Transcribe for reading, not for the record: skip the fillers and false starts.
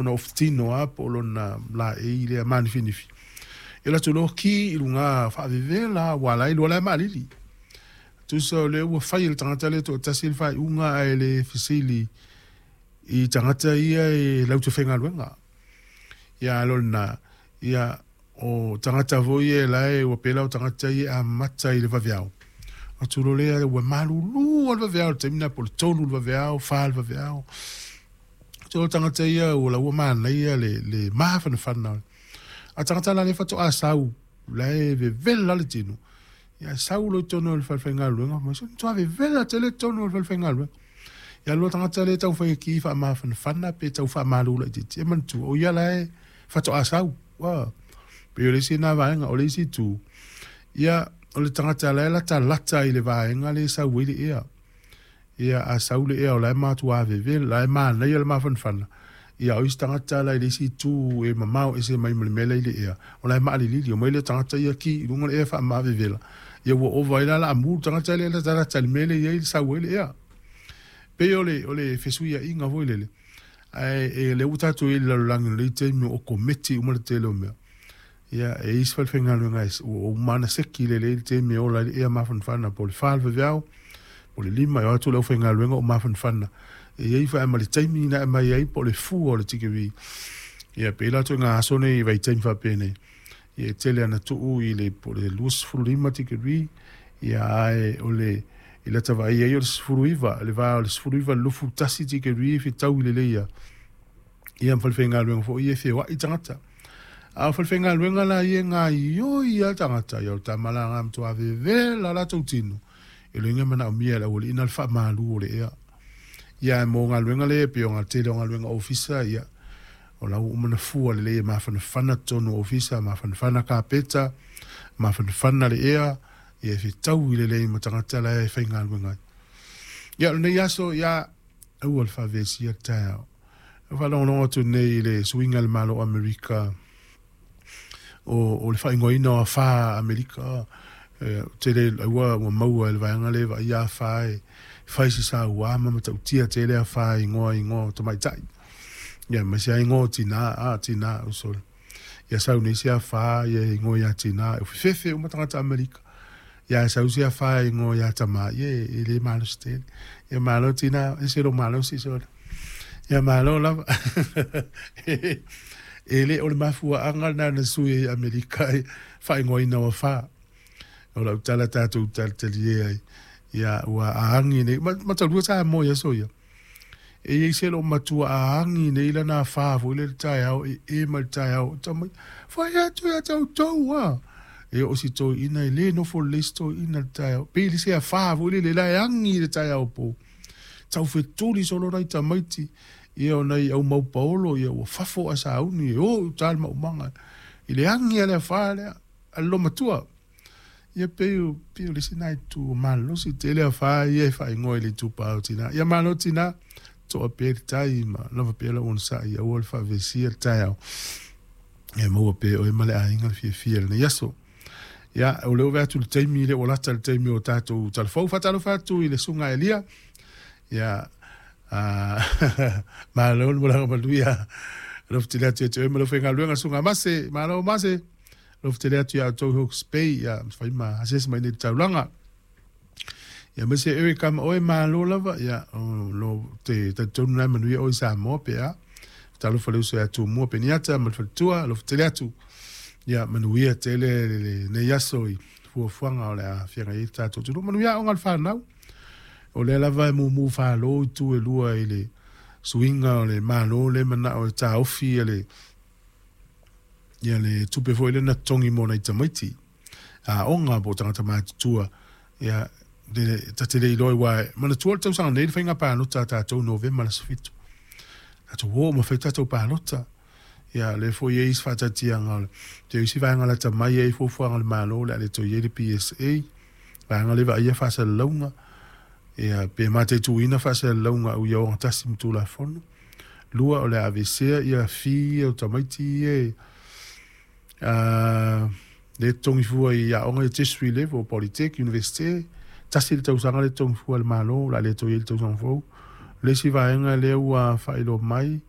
Ona ofutino lava po o lona laei lea manifinifi, ia alu atu loa ki i luga faavevela lava, aua o la e iloa o la e maalili. Tusa o lea ua fai e le tagata lea e toatasi le faaiuga ae le fesili i tagata ia e latou te faigaluega. Ia a o lena, ia o tagata foi ia la e ua pela o tagata ia e amata i le vaveao. Atu loa lea ua malulu lava le vaveao i le taimi lena po o le 3 i le vaveao, 4 i le vaveao. So o tagata ia ua la ua manaia le mafanafana. A tagata la lea faatoa sau, la e vevela le tino. Ia sau loa i totonu o le falefaigaluega, ma se matua vevela tele totonu o le falefaigaluega. Ia lua tagata lea e taumafai e ki faamafanafana pe tau faamalu laitiiti, e manatua, o ia la e faatoa sau. Ua, pei o le isi lena vaega. O le isi itu, ia, o le tagata la e latalata i le vaega lea e sau ai le ea. Ia, a sau le ea o la e matua vevela, la e manaia le mafanafana, ia o isi tagata la i le isi itu e mamao ese mai ma le mea la i le ea, o la e maalilili, omai lea tagata ia ki i luga le ea faamavevela, ia ua ova ai la laamu le tagata lea e latalata i le mea lea e i ai sau ai le ea. Pei o le, o le fesuiaiga foi lele, ae e, lea ua tatou i ai i le lalolagi o lenei taimi o kometi uma le tele o mea. Ia, e i ai isi falefaigaluega ua uma ona seki lelei le taimi e ola ai le ea mafanafana po o le 4 le vaveao, po o le 5 e o atu le aufaigaluega o mafanafana. E i ai foi ma le taimi na aumai ai po o le fua o le tikeri. Ia, pei la ituaiga aso nei i vaitaimi faapenei, ia e tele ana tuu i le po o le 25 tikeri, ia ae o le i lata vaai ai o le 19, le va o le 19 i le 21 tikeri e fetaui lelei lava. Ia ma falefaigaluega foi ia e feoai tagata. A o falefaigaluega la ia e gaoioi lava tagata, ia o le tama la lena e matua vevela latou tino, e le iga manaomia e le aualii na le faamalu o le ea. Ia ae mo galuega lea e pei o le tele o galuega ofisa, ia o la ua uma ona fua lelei e mafanafana totonu o ofisa, mafanafana kapeta, mafanafana le ea, ia e fetaui lelei ma tagata la e faigaluega ai. Ia o lenei aso, ia aua le faavesia le taeao. E faalogologo atu nei i le suiga i le Malo o Amerika o le faaigoaina o afa Amerika. E tele ua maua e le vaega lea e vaaia afa e fai se saua ma matautia tele afa e igoa igoa o tamaitai. Ia aemaise lava igoa o tina, a tina o sole. Ia sau nei se afa ia e igoa ia tina, e fefefe uma tagata Amerika. Ia sau se afa e igoa ia tama, ia e le malosi tele. Ia malo tina, e se lo malosi sole. Ia malo lava. E le o le mafuaaga lena na sui ai Amerika i faaigoaina o afa. O lau tala tatou talitalie ai. Ia ua aagi nei, matalua Samoa i aso ia. E i ai se loo matua aagi nei lana afa foi le taeao e e mai le taeao. Tamai, fai atu ia te outou a. E oo si toeaina e le nofo lelei si toeaina i le taeao. Pei le se afa foi lele la e agi i le taeao po. Tau fetuli solo nai tamaiti, ia o nai au mau paolo, ia ua fafo ae sauni e o i uta le maumaga i le agi a le afa lea a le lomatua. Ia pei o, pei o le isi na itu o malosi tele afa ia e faaigoa i le itupa o tina. Ia malo tina, toa pea le tai ma lava pea lau onosai, aua le faavesia le taeao. Ia maua pea oe ma le aiga le fiafia i lenei aso. Ia, o lea ua vaai atu i le taimi, lea ua lata le taimi o tatou talafou. Faatalofa atu i le Susuga Elia. Ia, malo le malaga manuia. Alofa tele atu ia te oe ma lau faigaluega, Susuga Mase. Malo Mase. Alofa tele atu ia outou i Hawke's Bay, ia, fai ma asiasi mai nei i le taulaga. Ia, aemaise Eric ma oe, malo lava. Ia, o lo te talitonu la e manuia oe i Samoa pe a. Talofa le uso ia Tumua Peniata ma le faletua, alofa tele atu. Ia, manuia tele lenei aso i fuafuaga o le a feagai ai le tatou atunuu. Manuia aoga a le fanau. O lea lava e mumu falo itu e lua i le suiga o le Malo lea e manao e taofi le ia le tupe foi lea na totogi mo nai tamaiti aoga po o tagata matutua. Ia, ta te le iloa aua e manatua le tausaga nei le faiga palota a tatou Novema le aso 7. Tatou o ma fai tatou palota. Ia, lea foi e i ai isi faataatiaga o le te isi vaega lata mai e i ai fuafuaga a le Malo o le a le toe i ai le PSA, vaega lea e vaaia faasalalauga, ia, pe mataituina faasalalauga au ia ogatasi ma Tulafono. Lua, o le a aveesea ia fee ia o tamaiti ia e lea e totogi fua i aoga ia tertiary level, polytech, universite, tasi le tausaga lea e totogi fua e le Malo, o le a le toe i ai le tausaga fou. O le isi vaega lea ua faailoa mai,